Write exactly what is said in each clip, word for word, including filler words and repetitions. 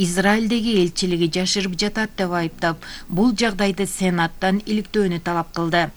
Израилдеги элчилиги жашырып жатат деп айыптап, бул жагдайды Сенаттан иликтөөнү талап кылды.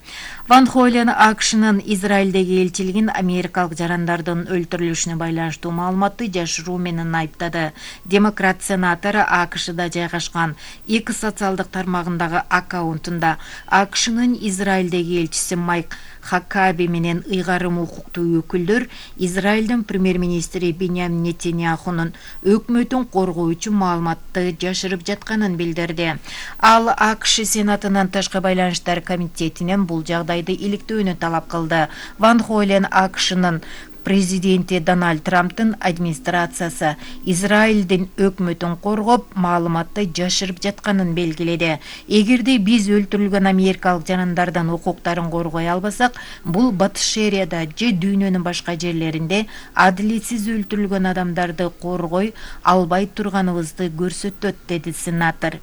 Ван Хойлен АКШнын Израилдеги элчилигин америкалык жарандардын өлтүрүлүшүнө байланыштуу маалыматты жашыруу менен айыптады. Демократ сенатор АКШда жайгашкан эки социалдык тармагындагы аккаунтунда АКШнын Израилдеги элчиси Майк Хакаби менен ыйгарым укуктуу өкүлдөр Израилдин премьер-министри Биньямин Нетаньяхунун өкмөтүн коргоочу маалыматты жашырып жатканын билдирди. Ал АКШ Сенатынын тышкы байланыштар комитетинен бул жагдайды иликтөөнү талап кылды. Ван Хойлен АКШнын президенти Дональд Трамптын администрациясы Израилдин өкмөтүн коргоп, маалыматты жашырып жатканын белгиледи. Эгерде биз өлтүрүлгөн америкалык жарандардын укуктарын коргой албасак, бул Батыш Шерияда же дүйнөнүн башка жерлеринде адилетсиз өлтүрүлгөн адамдарды коргой албай турганыбызды көрсөтөт, деди сенатор.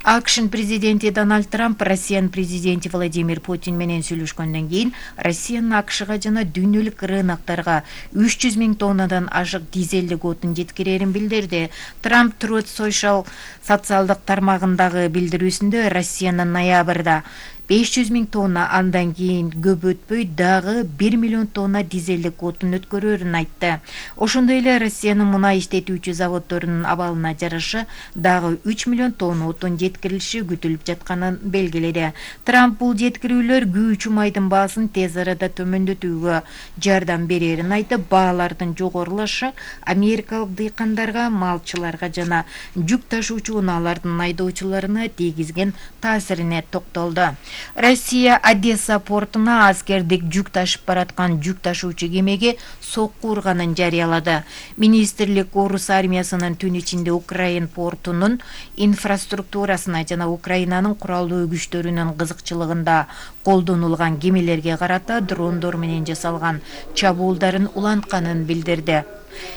АКШнын президенти Дональд Трамп Россиянын президенти Владимир Путин менен сүйлөшкөндөн кийин Россиянын АКШга жана дүйнөлүк рыноктарга үч жүз миң тоннадан ашык дизелдик отун жеткирерин билдирди. Трамп Truth Social социалдык тармагындагы билдирүүсүндө Россиянын ноябрда беш жүз миң тонна, андан кийин көп өтпөй дагы бир миллион тонна дизелдик отун өткөрөрүн айтты. Ошондой эле Россиянын мунай иштетүүчү заводдорунун абалына жараша дагы үч миллион тонна отун жеткирилиши күтүлүп жатканын белгиледи. Трамп бул жеткирүүлөр күйүүчү майдын баасын тез арада төмөндөтүүгө жардам берерин айтып, баалардын жогорулашы америкалык дыйкандарга, малчыларга жана жүк ташуучу унаалардын айдоочуларына тийгизген таасирине токтолду. Россия Одесса портуна аскердик жүк ташып бараткан жүк ташуучу кемеге сокку урганын жарыялады. Министрлик орус армиясынын түн ичинде Украин портунун инфраструктурасына жана Украинанын куралдуу күчтөрүнүн кызыкчылыгында колдонулган кемелерге карата дрондор менен жасалган чабуулдарын улантканын билдирди.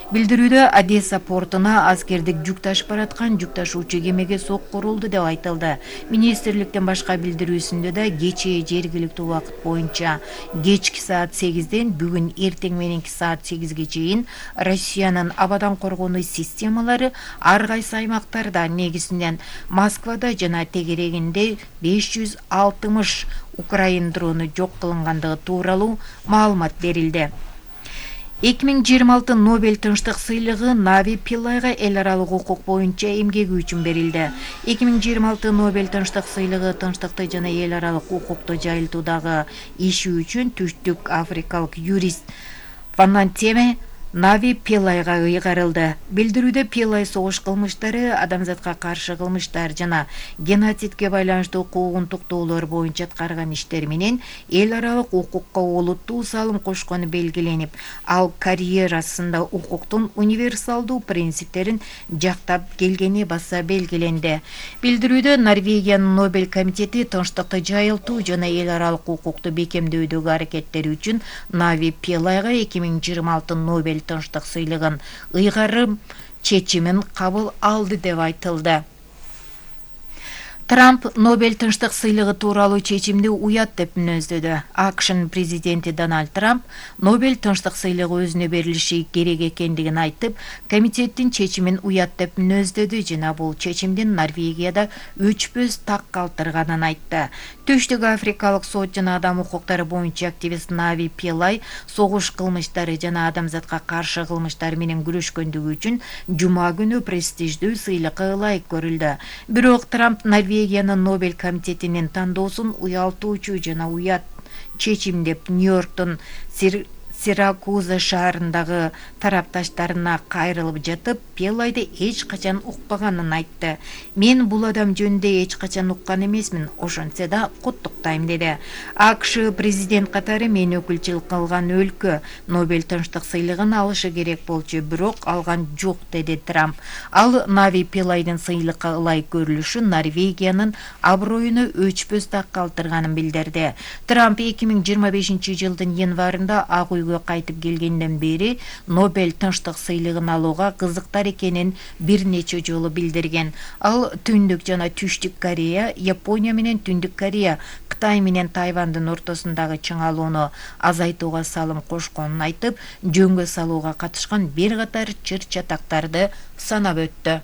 Билдирүүдө Одесса портуна аскердик жүк ташып бараткан жүк ташуучу кемеге сокку урулду деп айтылды. Министрликтин башка билдирүүсүндө да кечээ жергиликтүү убакыт боюнча кечки саат сегизден бүгүн эртең мененки саат сегизге чейин Россиянын абадан коргонуу системалары ар кайсы аймактарда, негизинен Москвада жана тегерегинде беш жүз алтымыш Украин дрону жок кылынгандыгы тууралуу маалымат берилди. эки миң жыйырма алты Нобель тынчтык сыйлыгы Нави Пиллайга эл аралык укук боюнча эмгеги үчүн берилди. эки миң жыйырма алты Нобель тынчтык сыйлыгы тынчтыкты жана эл аралык укукту жайылтуудагы иши үчүн түштүк африкалык юрист Фанантеме Нави Пиллайга ыйгарылды. Билдирүүдө Пиллай согуш кылмыштары, адамзатка каршы кылмыштар жана геноцидке байланыштуу куугунтуктоолор боюнча аткарган иштер менен эл аралык укукка олуттуу салым кошкону белгиленип, ал карьерасында укуктун универсалдуу принциптерин жактап келгени баса белгиленди. Билдирүүдө Норвегиянын Нобель комитети тынчтыкты жайылтуу жана эл аралык укукту бекемдөөдөгү аракеттери үчүн Нави Пиллайга эки миң жыйырма алты Нобель тынчтык сыйлыгын ыйгарым чечимин кабыл алды деп айтылды. Трамп Нобель тынчтык сыйлыгы тууралуу чечимди уят деп мүнөздөдү. АКШнын президенти Дональд Трамп Нобель тынчтык сыйлыгы өзүнө берилиши керек экендигин айтып, комитеттин чечимин уят деп мүнөздөдү жана бул чечимдин Норвегияда өчпөс так калтырганын айтты. Түштүк африкалык сот жана адам укуктары боюнча активист Нави Пиллай согуш кылмыштары жана адамзатка каршы кылмыштар менен күрөшкөндүгү үчүн жума күнү престиждүү сыйлыкка ылайык көрүлдү. Бирок Трамп Норвегиянын Нобель комитетинин тандоосун уялтуучу жана уят чечим деп Нью-Йорктун Сиракуза шаарындагы тарапташтарына кайрылып жатып, Пиллайды эч качан укпаганын айтты. Мен бул адам жөнүндө эч качан уккан эмесмин, ошентсе да куттуктайм деди. АКШ президент катары мен өкүлчүлүк кылган өлкө Нобель тынчтык сыйлыгын алышы керек болчу, бирок алган жок, деди Трамп. Ал Нави Пиллайдын сыйлыкка ылайык көрүлүшү Норвегиянын аброюну өчпөс так калтырганын билдирди. Трамп эки миң жыйырма бешинчи жылдын январында Ак үйгө кайтып келгенден бери Нобель тынчтык сыйлыгын алууга кызыктар экенин бир нече жолу билдирген. Ал Түндүк жана Түштүк Корея, Япония менен Түндүк Корея, Кытай менен Тайвандын ортосундагы чыңалууну азайтууга салым кошконун айтып, жөнгө салууга катышкан бир катар чыр чатактарды санап өттү.